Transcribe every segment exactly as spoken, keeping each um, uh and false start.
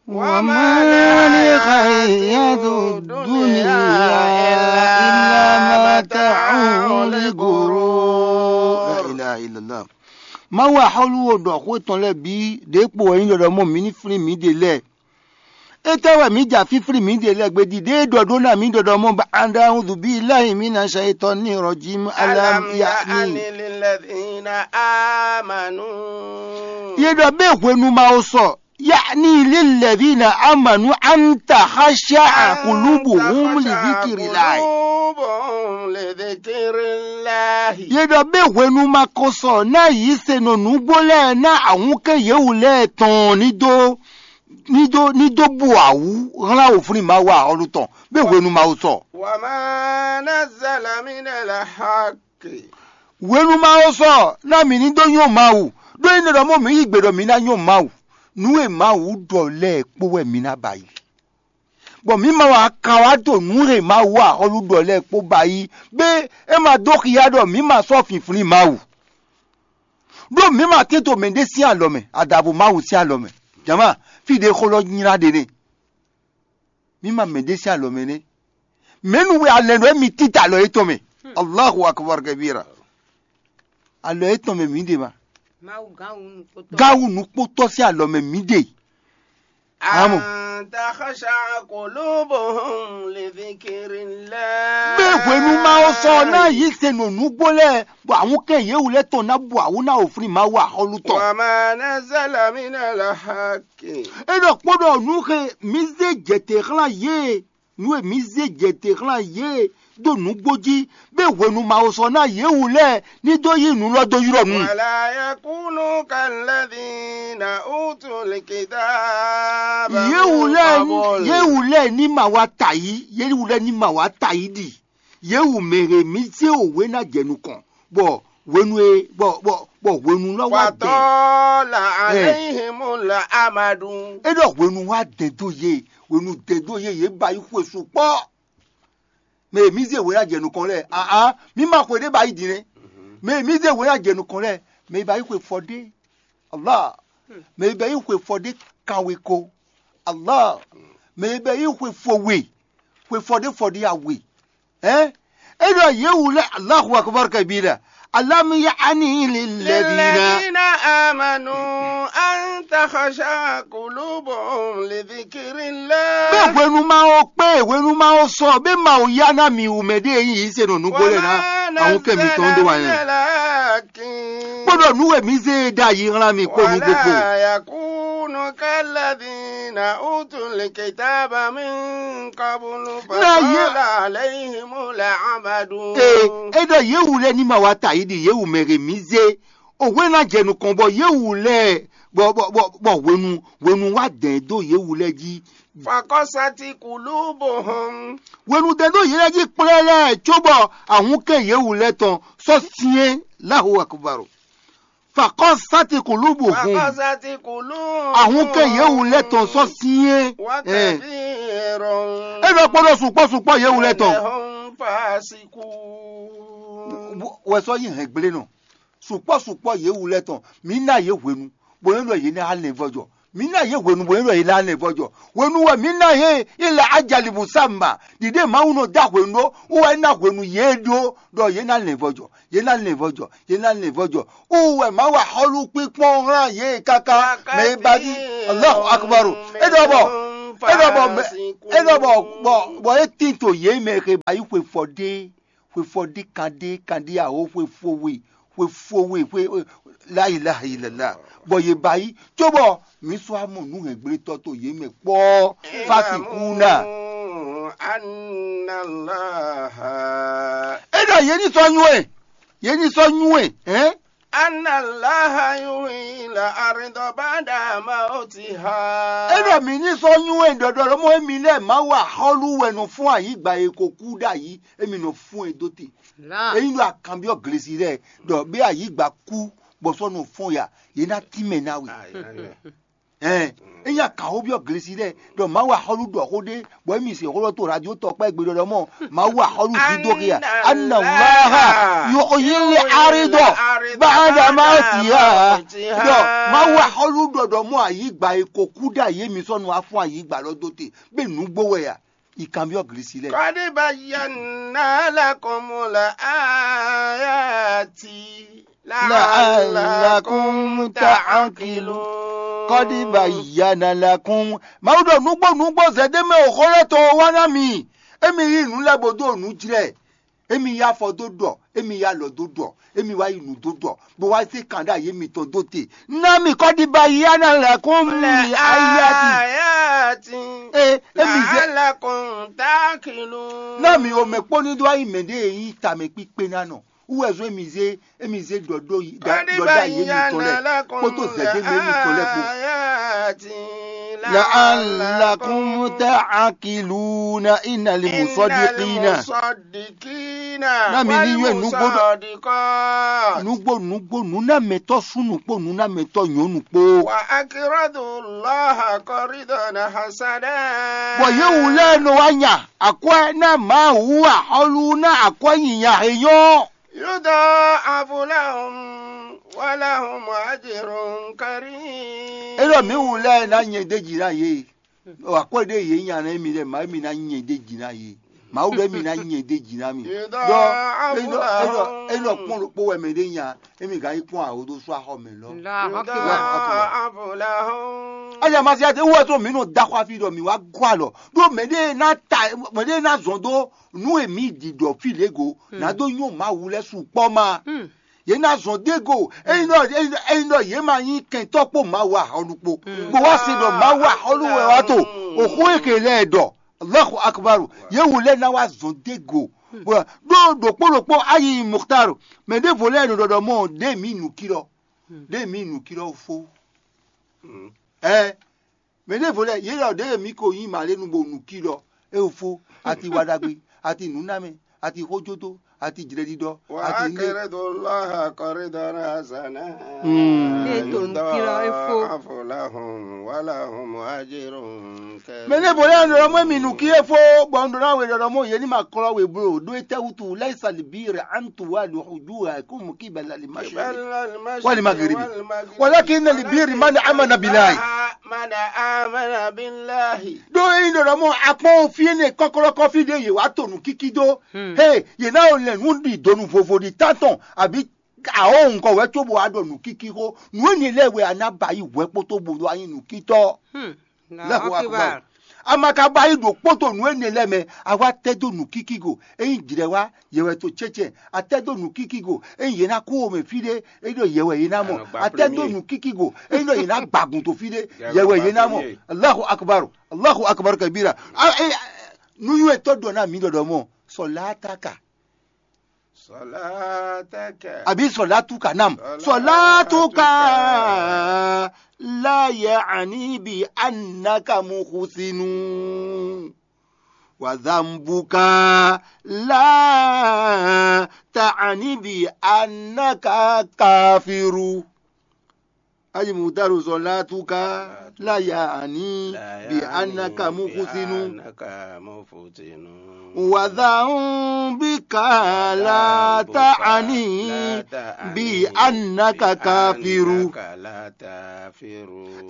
وما الحياة الدنيا إلا متاع الغرور. La ilaha illallah. Mawu axɔ́lú wo ɖɔ xó tɔn lɛ́ɛ bǐ ɖěkpo wɛ nyí ɖɔɖɔ mɔ mǐ ní flín mǐɖée lɛ́ɛ. Étɛ́ wɛ mǐ ja fínflín mǐɖée lɛ́ɛ gbé jí? Ɖěe ɖɔ ɖó ná mǐ ɖɔɖɔ mɔ ba anda uzu bí láhi mí na ṣe tɔ ní rɔ jí alam ya ní. للذين آمنوا. Yě ɖɔ bɛ́ hwenu ma wo sɔ, ya ní lílɛ̀ví na amanu anta xaṣá àkùlùbù húm lìvíkìrì láì. قلوبهم لذكر الله. Yě ɖɔ bɛ́ hwenu ma ko sɔ ná yǐ se nɔ nǔgbó lɛ́ɛ ná ahúnkɛ́n yěwú lɛ́ɛ tɔn ní dó ní dó ní dó bu awǔ hlán wǒflín Mawu axɔ́lú tɔn, bɛ́ hwenu ma wo sɔ. وما نزل من الحق. Hwenu ma wo sɔ ná mǐ ní dó nyɔ́ Mawu, ɖó é nɔ ɖɔ mɔ mǐ yí gbe ɖɔ mǐ ná nyɔ́ Mawu. Nǔ e Mawu ɖɔ lɛ́ɛ kpó wɛ mǐ ná ba yi, bɔ mǐ ma wá ka wá ɖo nǔ e Mawu axɔ́lú ɖɔ lɛ́ɛ kpó ba yi, bɛ́ é ma dó xyá ɖɔ mǐ ma sɔ́ finflín Mawu. Ɖó mǐ ma tɛ́nto mɛɖé sín alɔ mɛ, adǎvo Mawu sín alɔ mɛ. Jama, fí ɖě xó lɔ nylá ɖe nɛ́. Mǐ ma mɛɖé sín alɔ mɛ nɛ́. Mɛ̌nu wɛ alɛ ɖɔ émí títá alɔ yětɔn mɛ? Allahu akbar kabira. Alɔ yětɔn mɛ mǐ ɖe ma. Mawu gán wú nukpotɔ. Gán wú nukpotɔ sín alɔ mɛ mǐ ɖe. Amɔ. أن تخشع قلوبهم لذكر الله. Bɛ́ hwenu ma wo sɔ ná yí se nɔ nǔgbó lɛ́ɛ, bɔ àwọn kɛ yě wú lɛ́ tɔn ná bu awǔ ná wǒflí Mawu axɔ́lú tɔn. وما نزل من الحق. É ɖɔ kpó ɖɔ nǔ xe mǐ zé jɛ te xlán yě, nǔ e mǐ zé jɛ te xlán yě ɖo nǔgbó jí, bɛ́ hwenu ma wo sɔ ná yě wú lɛ́ɛ ní dó yí nǔ lɔ dó ylɔ́ nu. ولا يكونوا كالذين أوتوا الكتاب Yě wú من lɛ́ɛ قبل. Yě wú lɛ́ɛ ní ma wá ta yí, yě wú lɛ́ɛ ní ma wá ta yí ɖi. Yě wú mɛ e mǐ zé òwe ná jɛ nukɔn, bɔ hwenu e bɔ bɔ bɔ hwenu lɔ wá dɛ. فطال عليهم الأمد. É ɖɔ hwenu wá dɛ dó yě, hwenu dɛ dó yě, yě ba yí xwe sukpɔ́. Mɛ e mǐ zé hwe ná jɛ nukɔn lɛ́ɛ, aa, mǐ ma xwe ɖé ba yi din nɛ́. Mɛ e mǐ zé hwe ná jɛ nukɔn lɛ́ɛ, mɛ e ba yi xwe fɔ ɖé, Allah. Mɛ e ba yi xwe fɔ ɖé kanwe ko, Allah. Mɛ e ba yi xwe fɔ we, xwe fɔ ɖé fɔ ɖé awe. Ɛn? É ɖɔ yě wu lɛ́ɛ, Allahu akbar kabira. Alam ya'ni lilladhina. للذين آمنوا أن تخشع قلوبهم لذكر الله. Bɛ́ hwenu ma wo kpé, hwenu ma wo sɔ, bɛ́ ma wo ya ná mi wú mɛ ɖé yí se nɔ nugbo lɛ ná. وما Àwọn kɛ mi tɔn ɖó wa نزل من yẹn. الحق. Kpódò nú wɛ mi zé e ɖ'ayǐ hlán mi kpó nú gbogbo. ولا يكونوا كالذين أوتوا الكتاب من قبل Ná yé- فطال عليهم الأمد. Ee, é ɖɔ yě wú lɛ́ɛ ní ma wá ta yí ɖi yě wú mɛ he mǐ zé. Òwe ná jɛ nukɔn bɔ yě wú lɛ́ɛ bɔ bɔ bɔ bɔ hwenu hwenu wá dɛ̌n dó yě wú lɛ́ɛ jí. فقست قلوبهم. Hwenu dɛ̌n dó yě lɛ́ɛ jí kplɛ́lɛ́ cóbɔ ahúnkɛ́ yě wú lɛ́ɛ tɔn sɔ́ syɛ́n Allahu akbar. Fakɔsati kulubuhum. فقست قلوبهم. Ahúnkɛ́ yě wú lɛ́ɛ tɔn sɔ́ syɛ́n. وكثير É nɔ kpɔ́ ɖɔ sukpɔ́ sukpɔ́ yě wú lɛ́ɛ tɔn. منهم فاسقون. Wɛ sɔ́ yí hɛn gblé nɔ. Sukpɔ́ sukpɔ́ yě wú lɛ́ɛ tɔn. Mǐ ná yě hwenu, bó nɔ́ ɖɔ yě ná lɛn vɔ́jɔ. Mǐ ná yě hwenu, bó nɔ́ ɖɔ yě ná lɛn vɔ́jɔ. Hwenu wɛ mǐ ná yě ilẹ̀ ajalibu samba. Ɖiɖe Mawu nɔ dó hwenu ɖó, wú wɛ é ná hwenu yě ɖó ɖɔ yě ná lɛn vɔ́jɔ. Yě ná lɛn vɔ́jɔ. Yě ná lɛn vɔ́jɔ. Wú wɛ Mawu axɔ́lú kpínkpɔ́n hlan yě káká. Mɛ e ba jí. Allahu akbar. É ɖɔ bɔ é ɖɔ bɔ bɔ bɔ é tín to yě mɛ xe ba yí xwe fɔ ɖé. Xwe fɔ ɖé kan ɖé kan ɖé aho xwe fo we xwe fo we xwe la ilaha illallah. Bɔ yě ba yi cóbɔ mǐ sɔ́ amɔ nǔhɛngblétɔ́ to yě mɛ kpɔ́. Fasi kuna. اعلموا أن الله É ɖɔ yě ní sɔ́ nywɛ́, yě ní sɔ́ nywɛ́, hɛn? أن الله يحيي الأرض بعد موتها. É ɖɔ mǐ ní sɔ́ nywɛ́ ɖɔɖɔ ɖɔ mɔ émí lɛ́ɛ Mawu axɔ́lú wɛ nɔ fún ayǐgba e ko kú ɖ'ayǐ, émí nɔ fún e dó te. Ényí ɖo akanbyɔ́ glesi lɛ́ɛ ɖɔ bé ayǐgba kú bɔ sɔ́ nɔ fɔ́n ya, yě ná tínmɛ ná we. Ɛn, ényí a kǎn xó byɔ́ glesi lɛ́ɛ ɖɔ Mawu axɔ́lú ɖɔ xó ɖé, bɔ émí se xó ɖɔ to radio tɔkpá gbe ɖɔ ɖɔ mɔ Mawu axɔ́lú dídó xia. Anna Allaha yuhyil arida ba'da mawtiha. Ɖɔ Mawu axɔ́lú ɖɔ ɖɔ mɔ ayǐgba e ko kú ɖ'ayǐ émí sɔ́ nɔ wá fún ayǐgba lɔ dó te, bɔ nǔgbó wɛ a? Yi kanbyɔ́ glesi lɛ́ɛ. Qad bayyana lakumul ayati la'allakum ta'qilun. Qad bayyana lakum. Mawu ɖɔ nǔgbó nǔgbó zɛ̌démɛ o xó lɛ́ɛ tɔn wá ná mi. Émi yí nǔ lɛ́ɛ bó dó nǔ jlɛ́. Émi yí afɔ dó ɖɔ, émi yí alɔ dó ɖɔ, émi wá yi nǔ dó ɖɔ, bó wá zé kan ɖó ayé mitɔn dó te. Ná mi qad bayyana lakum li ayati. Ee, émi zé. La'allakum ta'qilun. Ná mi o mɛ kpó ní dó wá yi mɛ ɖé e nyí tamɛ kpíkpé ná nɔ. Wú wɛ zɔ́n émi zé, émi zé ɖɔ ɖó yi, ɖɔ ɖɔ ayé mitɔn lɛ́ɛ, kpódó zɛ̌démɛ mitɔn lɛ́ɛ kpó. La'allakum ta'qiluna innal musaddiqina. Ná mi ní yɔ́ nǔgbó nǔgbó nǔgbó nǔnámɛtɔ́ súnnu kpó nǔnámɛtɔ́ nyɔ̌nu kpó. Wa aqridu Allaha qardan hasana. Bɔ yě wú lɛ́ɛ nɔ wá nya akwɛ́ ná Mawu axɔ́lú ná akwɛ́ nyinya e nyɔ́. Yudha'afu lahum wa lahum ajrun karim. É ɖɔ mǐ wú lɛ́ɛ ná nyɛ ɖ'é jí ná yě. Akwɛ́ ɖé yě nya ná émi lɛ́ɛ, Mawu émi ná nyɛ ɖ'é jí ná yě. Mawu ɖɔ émi ná nyɛ ɖ'é jí ná mì. Ɖɔ é nɔ é nɔ é nɔ kpɔ́n ɖokpó wɛ mɛ ɖé nya, émi gǎn yi kpɔ́n awo dó sú axɔ mɛ lɔ. Allahu akbar. Yudha'afu lahum. Aya masiya te wɔ tó mǐ nɔ da xɔ afi ɖɔ mǐ wá gɔ alɔ ɖó mɛ ɖé ná ta mɛ ɖé ná zɔn dó nú èmi ɖiɖɔ fí lě go nǎ dó nyɔ́ Mawu lɛ́ɛ sukpɔ́ ma. Yě ná zɔn dó go ényí ɖɔ ényí ɖɔ yě ma nyí kɛntɔ́ kpó Mawu ahɔnu kpó bó wá se ɖɔ Mawu ahɔnu wɛ wá to òxó e ke lɛ́ɛ ɖɔ Allahu akbaru. Yě wu lɛ́ɛ ná wá zɔn dó go. Bɔ ɖó ɖokpó ɖokpó ayi muxtaru mɛ ɖěvo lɛ́ɛ nɔ ɖɔɖɔ mɔ ɖě mǐ nǔkí lɔ ɖě mǐ nǔkí lɔ fó. Ɛ mɛ ɖěvo lɛ́ɛ yě ɖɔ ɖě mǐ ko nyí mǎlénu bo nǔkí lɔ é fó ati wa ɖagbe ati nǔnámɛ ati xójódó ati jlɛɖiɖɔ ati lé. Wa aqridu Allaha qardan hasana. Ní ètò nǔkí lɔ é fó. Yudha'afu lahum wa lahum ajrun karim. Mɛ ɖěvo lɛ́ɛ nɔ ɖɔ mɔ mì nǔkí é fó bɔ un ɖɔ ná we ɖɔ ɖɔ mɔ yě ní ma klɔ́ we bló ɖó étɛ́ wútu laisa libiri antu wa ɖo ojú àìkú mú kí bala lè má ṣe wali magribi walakin libiri mani amana bilayi. Mani amana bilayi. Ɖó ényí ɖɔ ɖɔ mɔ akpɔ́n fí énɛ́ kɔ́klɔ́kɔ́ fí ɖé yě wá to nǔkíkí dó he yě ná lɛn nǔ ɖi donu vovo ɖi tántɔn àbí awɔ̌ ŋkɔ wɛ cóbɔ wá ɖɔ nǔkíkí xó nǔ énɛ́ lɛ́ɛ wɛ a ná ba yi hwɛ kpótó bo ɖó anyi nǔkítɔ́. Allahu akbar. Ama ka ba yi ɖo kpóto nǔ énɛ́ lɛ́ɛ mɛ a wá tɛ́ dó nǔkíkí go ényí jlɛ̌ wá yɛ wɛ to cɛ́cɛ́ a tɛ́ dó nǔkíkí go ényí yě ná kú wo mɛ fí ɖé é ɖɔ yɛ wɛ yě ná mɔ a tɛ́ dó nǔkíkí go ényí ɖɔ yě ná gbagun to fí ɖé yɛ wɛ yě ná mɔ. Allahu akbar. Allahu akbar kabira. Nuyún etɔ́ ɖɔ ná mǐ ɖɔɖɔ mɔ sɔlátaka. Sɔlátaka. Àbí sɔlátúkà nam. Sɔlátúkà. Sɔlátúkà la ya'ni bi annaka muhsinu. Wa dhanbuka la ta'ni bi annaka kafiru. Ayi mutaru sɔlatuka la yaani bi anaka muhusinu. Wa dhanbika la ta'ani bi annaka kafiru.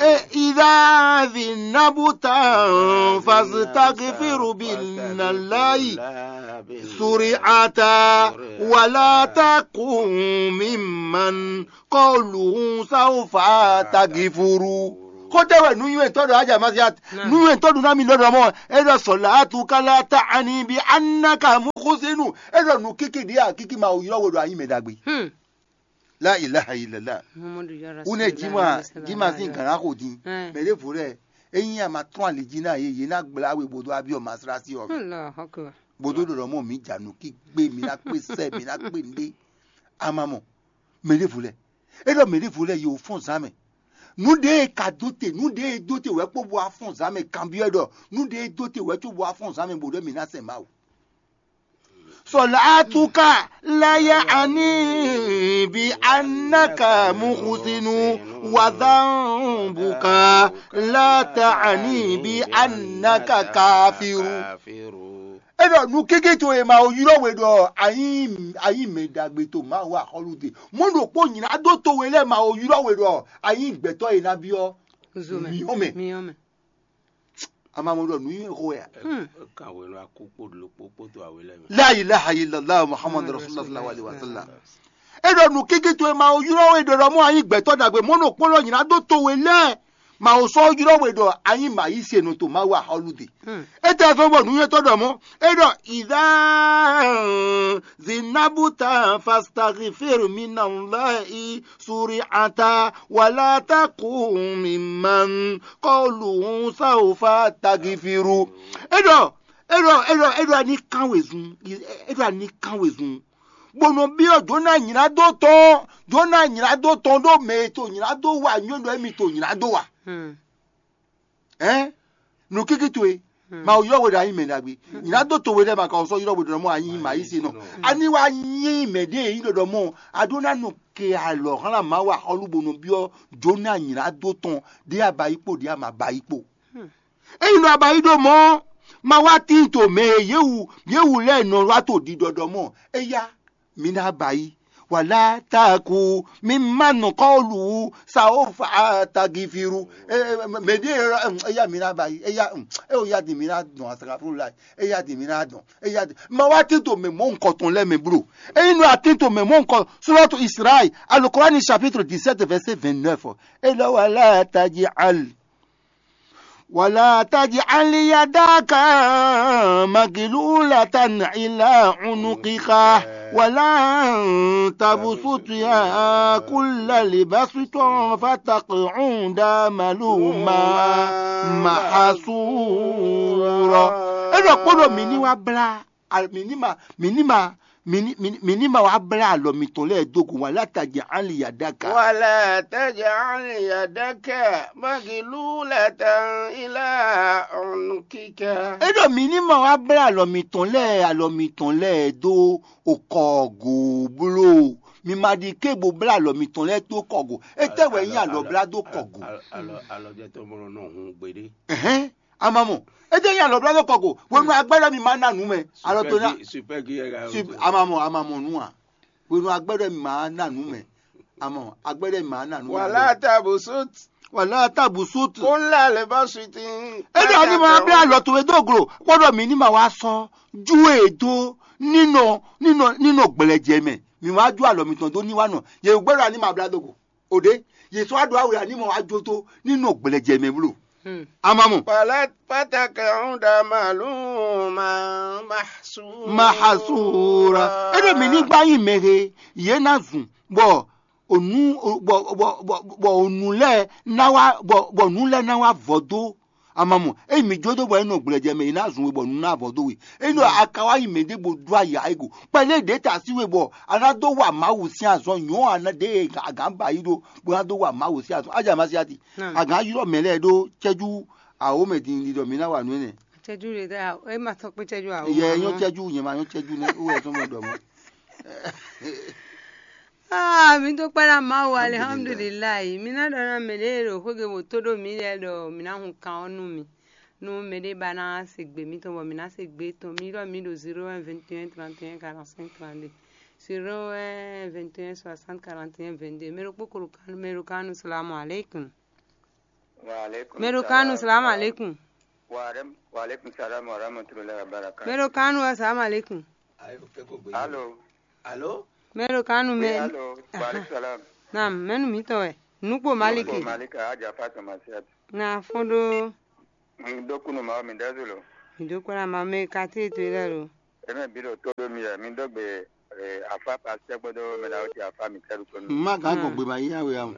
E idha dhinabta fastaghfiru billahi suri'ata wa la takun mimman kɔluhu sawfa tagifuru. Xótɛwɛ nuyɔntɔ ɖo ajamasiat nuyɔntɔ ɖo nami lɔdɔ mɔ e ɖɔ sɔlatu kala ta ani bi anaka muxusinu e ɖɔ nu kiki ɖi a kiki ma ylɔ wo ɖo anyi mɛ ɖagbe. La ilaha illallah. Une jima jima sin gana xo din mɛ ɖe vo lɛ eyin a ma trɔn ali ji na ye ye na gbla we bodo abiɔ masrasi ɔ. Bodo ɖo ɖɔ mɔ mi dza nu ki gbe mi na kpe sɛ mi na kpe nde. Ama mɔ mɛ ɖevo lɛ e ɖɔ mɛ ɖevo lɛ yi wò fɔn zan mɛ. Nu ɖe e ka dó te nu ɖe e dó te wɛ kpó bo wá fɔn zan mɛ kanbyɔ́ ɖɔ nu ɖe e dó te wɛ có bo wá fɔn zan mɛ bo ɖɔ mi ná sɛ Mawu. صلاتك لا يعني بأنك محسن، وذنبك لا تعني بأنك كافر. É ɖɔ nǔ kéké towe ma wo ylɔ́ we ɖɔ a nyí a nyí mɛ ɖagbe to Mawu axɔ́lú te. Mɔ̌ ɖokpó nylá dó towe lɛ́ɛ ma wo ylɔ́ we ɖɔ a nyí gbɛtɔ́ e ná byɔ́ Zo mɛ. Miyɔ́ mɛ. Miyɔ́ mɛ. A ma mɔ ɖɔ nǔ nyi xó wɛ a? Hmm. Kan hwenu akú kpo ɖokpó kpódó awe lɛ́ɛ mɛ. La ilaha illallah Muhammad Muhammad Rasulullah sallallahu alaihi wa sallam. Rasulullah. É ɖɔ nǔ kínkín towe ma wo ylɔ́ we ɖɔ ɖɔ mɔ a nyí gbɛtɔ́ ɖagbe mɔ̌ ɖokpó lɔ nylá dó towe lɛ́ɛ. Ma wo sɔ́ ylɔ́ we ɖɔ a nyí mǎyísenu to Mawu axɔ́lú de. Hmm. Étɛ́ zɔ́n bɔ nǔnywɛ́tɔ́ ɖɔ mɔ̌? É ɖɔ ìdá zinabuta fastaghfir minallahi suri'ata wala takun mimman qawluhu sawfa tagfiru. É ɖɔ é ɖɔ é ɖɔ é ɖɔ ní kán wezun. É ɖɔ ní kán wezun. Bó nɔ byɔ́ Jona nylá dó tɔn. Jona nylá dó tɔn ɖó mɛ e to nylá dó wa nyɔ́ ɖɔ émi to nylá dó wa. Hmm. Ɛn nǔ kínkín towe. Hmm. Ma ylɔ́ we ɖo a nyí mɛ ɖagbe. Nylá dó towe lɛ́ɛ ma ka sɔ́ ylɔ́ we ɖɔ mɔ a nyí ma yí se nɔ. Hmm. A ní wá nyí mɛ ɖé e nyí ɖɔɖɔ mɔ a ɖó ná nɔ ke alɔ hlán Mawu axɔ́lú bó nɔ byɔ́ Jona nylá dó tɔn ɖé a ba yí kpo ɖé a ma ba yí kpo. Hmm. Ényí nɔ a ba yí ɖó mɔ̌, ma wá tíin to mɛ e yě wu yě wu lɛ́ɛ nɔ wá to ɖiɖɔɖɔ mɔ. Éyá, mi ná ba yí. Wala taku mi ma nɔ kɔlu sa o fa tagifiru. Mɛ ɖé éyá mi ná ba yí. Éyá é o yá di mi ná dɔn asakafuru la. Éyá di mi ná dɔn. Éyá di ma wá tín to mɛ mɔ nukɔtɔn lɛ mɛ blo. Ényí nɔ a tín to mɛ mɔ nukɔ surɔtu Israël, Alukurani chapitre dix-sept verset vingt-neuf. E lɔ wala taji al. ولا تجعل يدك مغلولة إلى عنقك ولا تبسطها كل البسط فتقعد ملوما محسورا. É ɖɔ kpóɖɔ mǐ ní wá blá, mǐ ní ma, mǐ ní ma, mǐ ní, mǐ ní, mǐ ní ma wá blá alɔ mitɔn lɛ́ɛ dó gǔ wǎn látají aliyadaka. ولا تجعل يدك مغلولة إلى عنقك. É ɖɔ mǐ ní ma wá blá alɔ mitɔn lɛ́ɛ, alɔ mitɔn lɛ́ɛ dó okɔgo bló. Mi ma ɖi ké bo blá alɔ mitɔn lɛ́ɛ dó kɔgo. Étɛ́ wɛ nyí alɔ blá dó kɔgo? Alɔ, alɔ, alɔ jɛ tɔn mɔ nɔ hun gbeɖé. Ɛhɛn, a ma mɔ. Étɛ́ nyí alɔ blá dó kɔgo? Hwenu agbɛ́ ɖɔ mi ma ná nǔ mɛ. Alɔ tó ná. Super gi, super gi yɛ ga. Sup-, a ma mɔ, a ma mɔ nǔ a? Hwenu agbɛ́ ɖɔ mi ma ná nǔ mɛ. A mɔ, agbɛ́ ɖɔ mi ma ná nǔ mɛ. ولا تبسط. ولا تبسط. كل البسط. É ɖɔ ní ma blá alɔ towe dó glo, kpɔ́ ɖɔ mǐ ní ma wá sɔ́ jú e dó nínɔ nínɔ nínɔ gblɛjɛ mɛ. Mǐ wá jó alɔ mitɔn dó ní wá nɔ. Yě gbɛ́ ɖɔ ní ma blá dó go. O ɖě, yě sɔ́ wá ɖo awe ǎ ní mɔ wá jó tó ní nɔ gblɛjɛ mɛ bló. Hmm. A ma mɔ. فلا فتقعد ملوما محسورا. Mahasura. É ɖo mǐ ní gbá nyi mɛ he, yě ná zun, bɔ ònú, bɔ, bɔ, bɔ, bɔ ònú lɛ́ɛ ná wá, bɔ, bɔ nǔ lɛ́ɛ ná wá vɔ dó. A ma mɔ, ényí mǐ jó dó bɔ é nɔ gblɛjɛ mɛ, yě ná zun we bɔ nǔ ná vɔ dó we. Ényí ɖɔ a ka wá yi mɛ ɖěbǔ dó ayǎ é go. Kpɛɖé ɖě ta sí we bɔ a ná dó wa Mawu sín azɔn nyɔ̌ a ná ɖe agǎn ba yí ɖó bó ná dó wa Mawu sín azɔn. Ájá ma sí ati. Hmm. Agǎn ylɔ́ mɛ lɛ́ɛ ɖó cɛ́jú awǒ mɛ din ɖiɖɔ mǐ ná wa nǔ énɛ́. Cɛ́jú ɖe dá, é ma tɔ́ kpé cɛ́jú awǒ. Yɛ nyɔ́ cɛ́jú, nyɛ ma nyɔ́ cɛ́jú nɛ́, ó wɛ tɔ́n mɛ ɖɔ mɔ̌. Ah, mi dúpẹ́ ná Mawu, alihamdulilayi. Mi ná ɖɔ ná mɛ ɖé ɖo xwégbe bó tó ɖó mi lɛ́ɛ ɖɔ mi ná hun kan ɔ́ nú mi. Nú mɛ ɖé ba ná se gbe mitɔn bɔ mi ná se gbe tɔn, mi ɖɔ mi ɖo zéro un vingt et un trente et un quarante-cinq trente-deux. Zéro un vingt et un soixante quarante et un vingt-deux. Mɛ ɖokpó ko ɖo kan, mɛ ɖo kan nu, salamu aleykum. Wa aleykum. Mɛ ɖo kan nu, salamu aleykum. Wa alem-, wa aleykum salam wa rahmatullahi wa barakatuh. Mɛ ɖo kan nu, salamu aleykum. Alo. Alo. Mɛ ɖo kan nu, mɛ. Alo. Wa aleykum salam. Naam, mɛnu mitɔn wɛ? Nukpo Maliki. Nukpo Maliki, Aja Fatou Masiat. Na fɔn ɖo. Mi ɖó kúnnu ma, mi ɖɛ́ zolo. Mi ɖó kúnnu ma, mɛ kati to ilé lo. Eme bi ɖo tó ɖó mi yɛ, mi dó gbe, eh, afa pasitɛ kpódó mɛ ɖawo ti afa mi kɛɖu kpódó. Ma gán gbɔn gbe ma yí awe amu.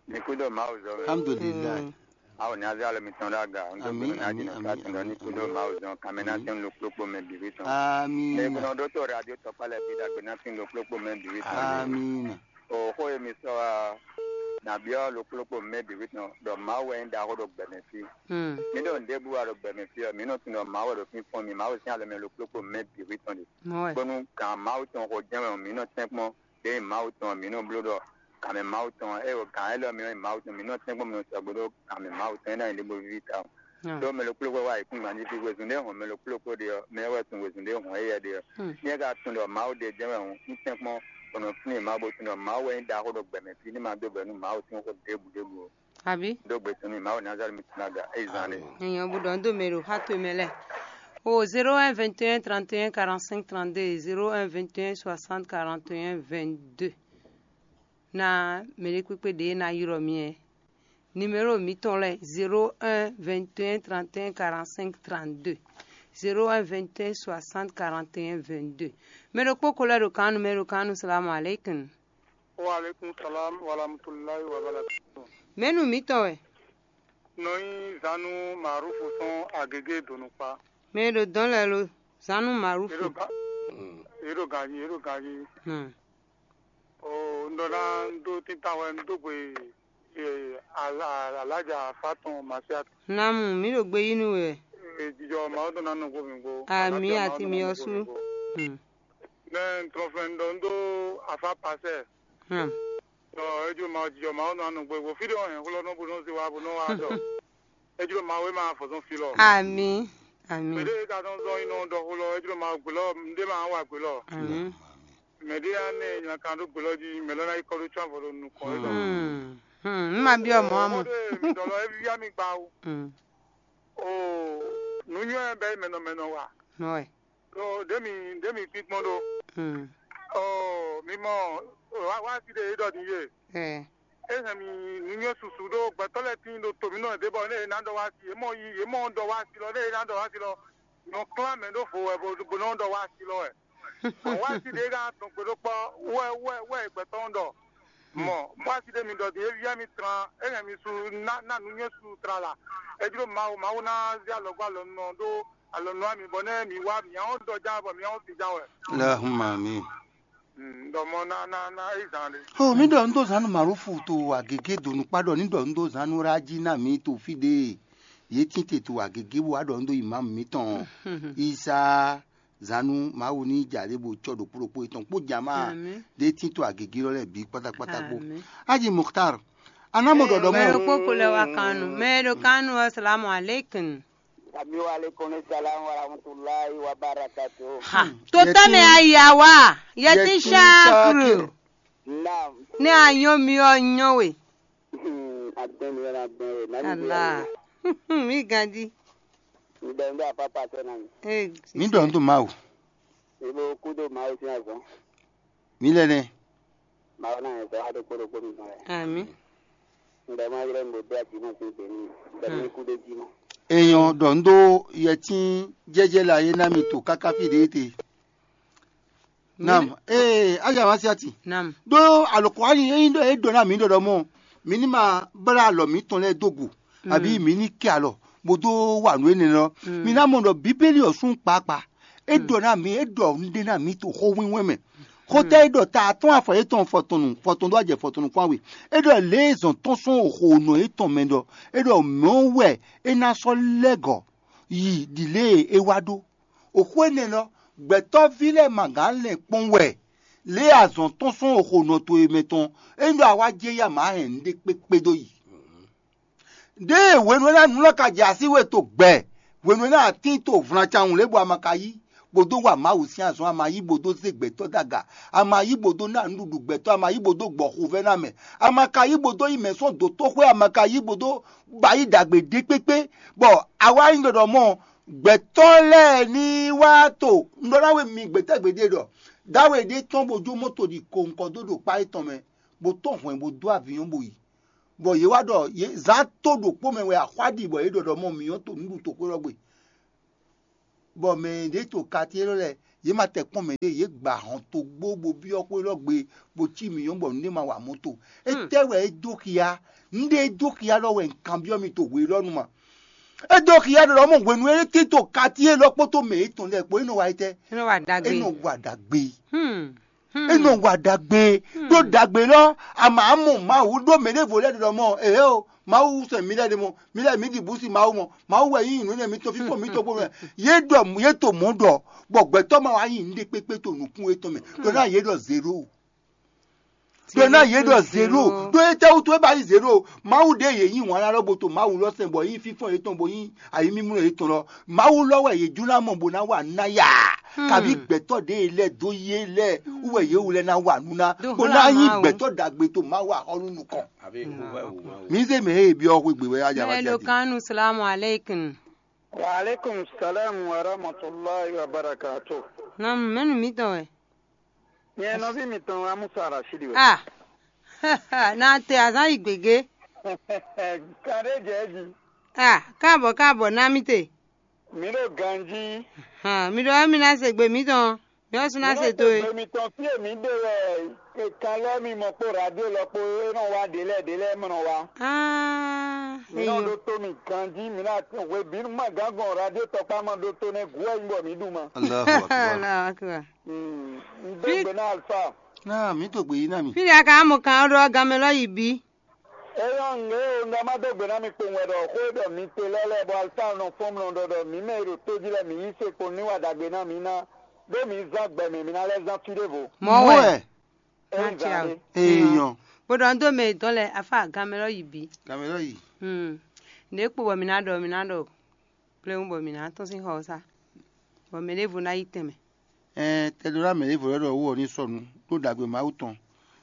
Mi kú ɖo Mawu zɔ wɛ. Alhamdulilayi. Mm. Awo ní azé alɔ mitɔn ɖo aga. N dó gbé ní adi ní fa tɔn ní kú ɖo Mawu zɔ. Kàmɛ ná tɛn lo kplókpó mɛ bìbí tɔn. Amina. Mɛ kúnɔ ɖó tó radio tɔkpa lɛ bi dàgbé ná tɛn lo kplókpó mɛ bìbí tɔn. Amina. O xó ye mi sɔ wa. nǎ byɔ́ ɖokpó ɖokpó mɛ bǐ wí tɔn ɖɔ Mawu wɛ nyí ɖaxó ɖo gbɛmɛ fí. Hmm. Mǐ ɖo nǔɖé bú wa ɖo gbɛmɛ fí ɔ́, mǐ nɔ tunwun ɖɔ Mawu wɛ ɖo fínfɔ́n mì, Mawu sín alɔ mɛ ɖokpó ɖokpó mɛ bǐ wí tɔn ɖe. Mɔwɛ. Bónú gǎn Mawu tɔn xo jɛ́n wɛ mǐ nɔ tɛ́nkpɔ́n, ɖěe Mawu tɔn mǐ nɔ bló ɖɔ gǎnmɛ Mawu tɔn, ée gǎn élɔ́ mǐ nɔ nyí Mawu tɔn, mǐ nɔ tɛ́nkpɔ́n mǐ nɔ sɔgbe ɖó gǎnmɛ Mawu tɔn é ná nyí ɖěvo víví tawun. Hmm. Ɖó mɛ ɖokpó ɖokpó wá yi kún gǎn jí fí wezun ɖé hɔn mɛ ɖokpó ɖokpó ɖe ɔ́, mɛ ɔ́ wɛ tunwun wezun ɖé hɔn éyɛ́ ɖe ɔ́. Hmm. Ní é ka tunwun ɖɔ Mawu ɖe jɛ́n wɛ hɔn, un tɛ́nkpɔ́n bɔ nɔ flín Mawu bó tunwun ɖɔ Mawu wɛ nyí ɖaxó ɖo gbɛmɛ fí ní ma dó bɛ̌ nú Mawu sín xó ɖěbǔ ɖěbǔ ó. Abǐ? Dó gbe tɔn nú Mawu Nazalɛ́ti mǐtɔn ná ga é zán ɖe. Èèyàn gbọ́dọ̀ ń dó mɛ ɖo xá towe mɛ lɛ́ɛ. O zéro un vingt et un trente et un quarante-cinq trente-deux, zéro un vingt et un soixante quarante et un vingt-deux. Na mɛ ɖé kpékpé ɖě ná ylɔ́ mi ɛ. Numéro mǐtɔn lɛ́ɛ zéro un vingt et un trente et un quarante-cinq trente-deux, zéro un vingt et un soixante quarante et un vingt-deux. Mɛ ɖokpó ko lɛ́ ɖo kan nú mɛ ɖo kan nú salamu aleykum. Wa aleykum salam wa rahmatulahi wa barakatuh. Mɛnu mǐtɔn wɛ? Nɔ nyí zanu Marufu tɔn agege donukpa. Mɛ e ɖo dɔn lɛ lo zanu Marufu. Eɖo ga eɖo ganji eɖo ganji. Hmm. O ŋdɔ na ŋdo tintan wɛ ŋdo gbe e, ala- alaja afa tɔn masiat. Namu, mǐ ɖo gbe yí nú we. Jijɔ Mawu tɔn na nɔ gbo mi gbo. Ami ati mi ɔsu. Hmm. Mɛ ntɔn fɛn ɖɔ ŋdo afa pasɛ. Hmm. Ɔ, ejlo ma jijɔ ma nɔ anɔ gbegbo fí ɖé ɔ́ hɛn xlɔ́ nɔ bó nɔ zé wá bó nɔ wá dɔ. Ejlo ma wé ma fɔzɔn fi lɔ. Ami. Ami. Mɛ ɖé ka nɔ zɔn yi nɔ dɔ xlɔ ejlo ma gbé lɔ, mɛ ɖé ma wá gbé lɔ. Ami. Mɛ ɖé ya nɛ nya kan ɖó gbé lɔ jí mɛ lɔ ná yi kɔ ɖó tsɔ́n avɔ ɖo nukɔn é dɔ. Hmm. Hmm. N ma byɔ mɔ amɔ. Mɔdé mi dɔ lɔ evi ya mi gba o. Hmm. O nu nyɔ bɛ mɛ nɔ mɛ nɔ wa. Nɔ wɛ. Ɖo ɖě mi ɖě mi kpínkpɔ́n ɖó. Hmm. Ɔ mi mɔ wá wá sí ɖe é ɖɔ din yé. Eh. É hɛn mi nǔnywɛ́ susu ɖó gbɛtɔ́ lɛ́ɛ tíin ɖo to mǐ nɔ ɖě bɔ nɛ è nǎ ɖɔ wá sí é mɔ yi é mɔ ɖɔ wá sí lɔ nɛ è nǎ ɖɔ wá sí lɔ nɔ klán mɛ ɖó vo wɛ bó bó nɔ ɖɔ wá sí lɔ wɛ. Wá sí ɖě ká tɔn gbe ɖó kpɔ́ wɛ wɛ wɛ gbɛtɔ́ ɖɔ mɔ wá sí ɖě mi ɖɔ din é vía mi tran é hɛn mi su ná ná nǔnywɛ́ su tlala é jló Mawu Mawu ná zé alɔgbó alɔ nɔ ɖó alɔ nɔ ami bɔ nɛ mi wá mi ahɔn dɔ já bɔ mi ahɔn si já wɛ. Lahuma mi. Dɔ mɔ na na na eyi zan ɖe. O mi ɖɔ un ɖó zanu marufu to agege do nukpa ɖɔ ni ɖɔ un ɖó zanu ra jí na mi to fi ɖe ye tinte to agege bo wa ɖɔ un ɖó imam mitɔn isa zanu mawu ni ja ɖe bo tsɔ ɖokpo ɖokpo etɔn kpo jama ɖe tin to agege lɔ lɛ bi kpatakpata kpo. Aji Mukhtar, anamo ɖɔɖɔ mɔ. Mɛ ɖokpó ko lɛ wa kanu mɛ ɖo kanu asalamu aleykum. Ami wa aleykum salam wa rahmatulahi wa barakatu. Ha. Tó tɛmɛ aya wa yɛtin shakuru. Naam. Ne a nyɔ mi ɔ nyɔ we. Agbɛn mi yɛn agbɛn we nani bi. Ala. Mi gandi. Mi dɔ n bɛ apa pasɛ na mi. Ee. Mi dɔ n to mawu. Mi bo kudo mawu sin azɔn. Mi lɛ nɛ. Mawu na yɛn sɔ ado kpɔɖokpɔ mi ma yɛ. Ami. N bɛ ma yrɛ n bo do aji ma sin gbɛ mi. N bɛ mi kudo ji ma. Eyɔn dɔ n do yɛtin jɛjɛ la ye na mi to kaka fi de te. Nam ee aja ma siati. Nam. Ɖó alɔkɔani eyin ɖɔ e ɖɔ na mi ɖɔɖɔ mɔ mi ní ma blá alɔ mǐtɔn lɛ́ɛ dó gu àbí mi ní kɛ alɔ bó dó wa nǔ énɛ́ lɔ. Mi ná mɔ ɖɔ bíbélì ɔ́ sún kpakpa. E ɖɔ na mi e ɖɔ nǔɖé na mi to xó wínwɛ́n mɛ. Xótá e ɖɔ ta atɔ́n afɔ yětɔn fɔtɔnnu fɔtɔn ɖó ajɛ fɔtɔnnu kpán we. E ɖɔ lě e zɔn tɔn sɔn xo nɔ yětɔn mɛ ɖɔ e ɖɔ mɛ̌ wɛ é ná sɔ́ lɛ́ gɔ̌ yi ɖi lě e é wá ɖó. Oxó énɛ́ lɔ, gbɛtɔ́ví lɛ́ɛ ma gǎn lɛn kpɔ́n wɛ, lě e azɔn tɔn sɔn oxo nɔ towe mɛ tɔn, é nyí ɖɔ a wá jɛ ya mǎ hɛn nǔɖé kpékpé dó yi. Ɖěe hwenu énɛ́ nǔ lɔ ka jɛ así we to gbɛ, hwenu énɛ́ atín to vlancawun lě bɔ a ma ka yí, bó dó wa Mawu sín azɔn, a ma yí bó dó zé gbɛtɔ́ dó aga, a ma yí bó dó ná nǔɖuɖu gbɛtɔ́, a ma yí bó dó gbɔ xovɛ́ ná mɛ, a ma ka yí bó dó yi mɛ sɔ́ dǒtoxwé, a ma ka yí bó dó ba yí ɖagbe ɖé kpékpé, bɔ a wá nyí ɖɔɖɔ mɔ gbɛtɔ́ lɛ́ɛ ní wá to un ɖɔ ná we mi gbɛtɛ́ gbeɖé ɖɔ dáwe ɖé tɔn bó jó mɔto ɖi ko nukɔn dó ɖo kpá étɔn mɛ, bó tɔn hwɛ̌n bó dó avǐnyɔ́n bó yi, bɔ yě wá ɖɔ yě zán tó ɖokpó mɛ wɛ axwá ɖi bɔ yě ɖɔɖɔ mɔ mǐ nyɔ́ to nǔɖutoxwé lɔ gbe, bɔ mɛ ɖě to kati élɔ́ lɛ́ɛ yě ma tɛ kpɔ́n mɛ ɖé, yě gba hɔn togbó bó byɔ́ xwé lɔ gbe bó cí mǐ nyɔ́ bɔ nǔɖé ma wa mɔto. Étɛ́ wɛ é dó xia? Nǔɖé é dó xia lɔ wɛ un kanbyɔ́ mi to hwe élɔ́ nu ma. É dó xia ɖɔ lɔ mɔ hwenu e é tito kati élɔ́ kpódó mɛ yětɔn lɛ́ɛ kpó é nɔ wa étɛ́? É nɔ wa ɖagbe. É nɔ wa ɖagbe. Hmm. É nɔ wa ɖagbe ɖó ɖagbe lɔ. Ama mɔ Mawu ɖó mɛ ɖěvo lɛ́ɛ ɖɔ mɔ ehe o, Mawu sɛ mi lɛ́ɛ ɖe mɔ, mi lɛ́ɛ mi ɖi bǔsi Mawu mɔ, Mawu wɛ yí nǔ nɛ mitɔn fífɔ mitɔn bó mɛ. Yě ɖɔ yě to mɔ̌ ɖɔ bɔ gbɛtɔ́ ma wá nyi nǔɖé kpékpé to nǔkún yětɔn mɛ ɖɔ ná yě ɖɔ zéro. Ɖɔ ná yě ɖɔ zéro. Ɖó étɛ́ wútu é ba nyí zéro? Mawu ɖé yě yí wǎn ná ɖɔ bo to Mawu lɔ sɛn bɔ yí fífɔ́n yětɔn bo yí ayǐmímlɔ́ yětɔn lɔ. Mawu lɔ wɛ yě jló ná mɔ bó ná wa ná ya. Kabí gbɛtɔ́ ɖě lɛ́ɛ dó yé lɛ́ɛ wú wɛ yě wú lɛ́ɛ ná wa nú ná bó ná nyí gbɛtɔ́ ɖagbe to Mawu axɔ́nú nukɔn. Mǐ zé mɛ e byɔ́ xwé gbe wɛ á ja wá Mɛlo ja. Kanu salamu alaikum. Wa alaikum salam wa rahmatullahi wa barakatuh. Nam mɛnu mitɔn wɛ. Nyɛ nɔví mitɔn Amusa Rashidi wɛ. Ah. Na te azan yi gbegbe. Kan ɖé jɛ jí. Ah, káàbọ̀ káàbọ̀ ná mi te. Mi ɖo ganjí. Hàn, mi ɖɔ mi ná se gbe mitɔn. Mi ɔ́ sún ná se to e. Gbe mitɔn fí e mi ɖe wɛ kan lɔ mi mɔ kpó radio lɔ kpó é nɔ wá ɖě lɛ́ɛ ɖě lɛ́ɛ mɔ nɔ wá. Ah, Mi nɔ eyo. Ɖo to mi ganjí, mi ná hwebǐnu ma gán gbɔn radio tɔkpá ma ɖó tó nɛ́ gǔ wɛ nyí bɔ mǐ ɖu ma. Allahu akbar. Allahu akbar. Un dó gbe ná Alfa. Náà mǐ to gbè yí ná mi. Fíɖí a ka mɔ kan ɔ́ ɖɔ ganmɛ lɔ yi bí. Éyɔ́ ŋlé o, un ɖɔ má dó gbe ná mi kpowun wɛ ɖɔ xó e ɖɔ mi te lɛ́ɛ lɛ́ɛ bɔ Alfa nɔ fɔ́n mlɔ ɖɔ ɖɔ mǐ mɛ e ɖo tó jí lɛ́ɛ mǐ yí se kpɔn ní wa ɖagbe ná mǐ ná, ɖó mǐ zán gbɛ mɛ mǐ ná lɛ́ zán fí ɖěvo. Mɔ̌ wɛ. Ée zán ɖé. Ee nyɔ. Bó ɖɔ un dó mɛ yětɔn lɛ́ɛ afá ganmɛ lɔ yi bí. Ganmɛ lɔ yi. Hmm. Nǔ e kpo bɔ mǐ ná ɖɔ mǐ ná ɖɔ pléwún bɔ mǐ ná tɔ́n sín xɔ ɔ́ sá, bɔ mɛ ɖěvo ná yi tɛnmɛ. Ɛɛ tɛɖó ná mɛ ɖěvo lɛ́ɛ ɖɔ wú ɔ ní sɔnu ɖó ɖagbe Mawu tɔn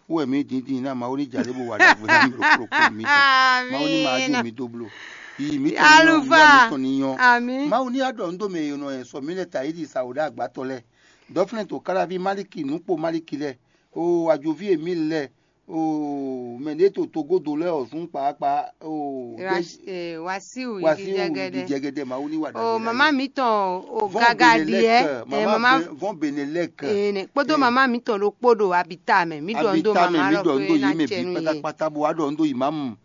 wú wɛ mǐ dǐndín ná Mawu ní jalě bó wa ɖagbe ná mì ɖo kplɔ́kplɔ́ mǐtɔn. Mawu ní ma jó mǐ dó bló. Yi mǐtɔn ní nyɔ́, Alufa. Mǐtɔn ní nyɔ́. Ami. Mawu ní aɖɔ nǔ dó mɛ e nɔ sɔ mǐ lɛ ta yi ɖi sa wǒ ɖo agbátɔ lɛ́ɛ. Dɔ̌flɛ́n to Kálaví Maliki nǔkpo Maliki lɛ́ɛ. O ajoví e mǐ lɛ́ɛ. O mɛ ɖě to togodo lɛ́ɛ ɔ́ zún kpaakpa. O Wasiu Wasiu jɛgɛdɛ. Jɛgɛdɛ Mawu ní wa ɖagbe. O mama mǐtɔn o gaga ɖiɛ. Mama vɔn Benelɛk. Kpódó mama mǐtɔn ɖokpó ɖo abita mɛ. Mí ɖɔ ndo mama lɔ pé ná cɛ nú yě. Pátápátá bó wá ɖɔ ndo imamu.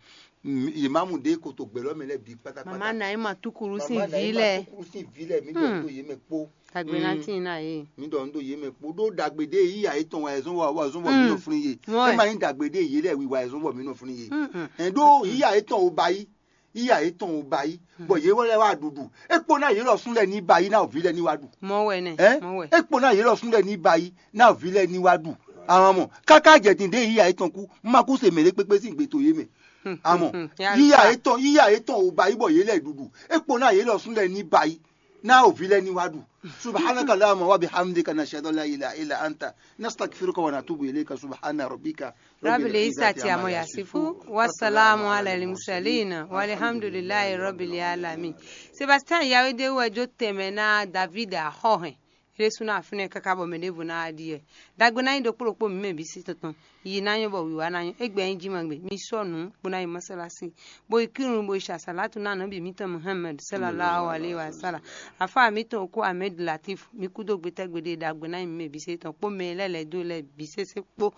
Imamu ɖě koto gbɛlɔ mɛ lɛ bi pátápátá. Mama Naima tukuru sin vi lɛ. Tukuru sin vi lɛ mí ɖɔ ndo yě mɛ kpó. Dagbe ná tín ná yě. Mí ɖɔ ndo yě mɛ kpó ɖó dagbe ɖé yíya yětɔn wa ɛzɔn wa wa ɛzɔn bɔ mí nɔ flín yé. Ema nyí dagbe ɖé yé lɛ wiwa ɛzɔn bɔ mí nɔ flín yé. Ɛn ɖó yíya yětɔn o ba yí. Yíya yětɔn o ba yí. Bɔ yě wɛ lɛ wá ɖuɖu. É kpó ná yě lɔ sún lɛ ní ba yí ná òví lɛ ní wá ɖu. Mɔ wɛ nɛ. Ɛ? Mɔ wɛ. É kpó ná yě lɔ sún lɛ ní ba yí ná òví lɛ ní wá ɖu. Àwọn ọmọ káká jẹ̀dín ɖé yíya yětɔn kú. Má kú se mèlé kpékpé sín gbé tó yé mɛ. Àmọ́ yíyá yétɔn yíyá yétɔn ò bá yí bɔ yé lɛ ɖuɖu. É kpo ná yé lɔ sún lɛ ní ba yí ná òví lɛ ní wá ɖu. Subhanaka Allahumma wa bihamdika, nashhadu an la ilaha illa anta, nastaghfiruka wa natubu ilayka. Subhana rabbika Rabbil izzati amma yasifu, wa salamu ala al mursalin, walhamdulillahi rabbil alamin. Sebastian Yawede wɛ jó tɛnmɛ ná David axɔhɛn. Xlésú ná afínɛ́ káká bɔ mɛ ɖěvo ná wá ɖi wɛ. Dagbe ná nyí ɖokpó ɖokpó mǐ mɛ bǐ sí tɔn tɔn. Yi ná nyɔ́ bɔ wǐwá ná nyɔ́. Égbé ɛ nyí jí ma gbe. Mi sɔ́ nǔ bó ná yi mɔsálásí, bó yi kírun, bó yi ṣe àsálátù ná nɔ́ bǐ mǐtɔn Muhammad sallallahu alaihi wa sallam. Afá mǐtɔn okó Ahmed Latif, mi kú dó gbétɛ́ gbeɖé dagbe ná nyí mǐ mɛ bǐ sí tɔn kpó mɛ lɛ́ lɛ̌ dó lɛ́ bǐ sésé kpó.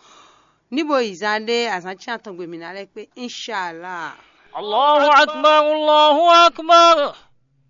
Ní bo yi zán ɖé azǎn cyán tɔn gbe mǐ ná lɛ́ kpé, inshallah. Allahu akbar, Allahu akbar.